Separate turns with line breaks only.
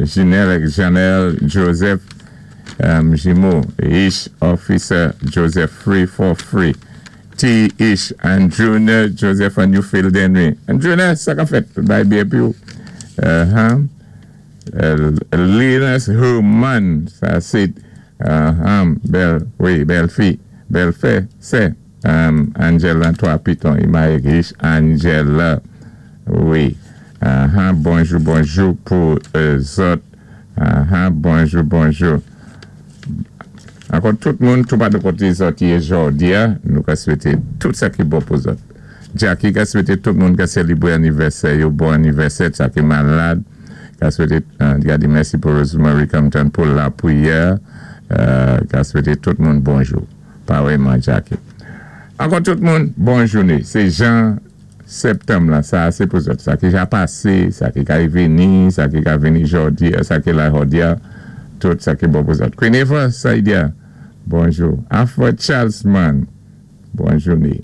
Ginelle Janelle Joseph Jimo Ish Officer Joseph 343 T Ish and Junior Joseph and Newfield Henry. And Junior, sa ka fèt? Bay byen pi ou. Linus Herman, sa sé bèl, wi, bèl fi, bèl fè, sè Angela 3 Piton, Imaye Ish Angela, wi. Bonjou, bonjou pou zòt. Bonjou, bonjou. Ankò tout moun, tou pa de koté zòt yé jòdi a, nou ka swété tout sa ki bon pou zòt. Jackie ka swété tout moun ka sélébré anivèsè yo bon anivèsè, sa ki malad, ka swété, ka di mèsi pou Rosemary Compton pou lapriyè, ka swété tout moun bonjou. Parèyman Jackie. Ankò tout moun, bon jouné. Sé jan Sèptanm la, sa a sé pou zòt. Sa ki ja pasé, sa ki kay vini, sa ki ka vini jòdi a, sa ki la jòdi a, tout sa ki bon pou zòt. Queen Eva Saidia, bonjou. Alfred Charlesman, bon jouné.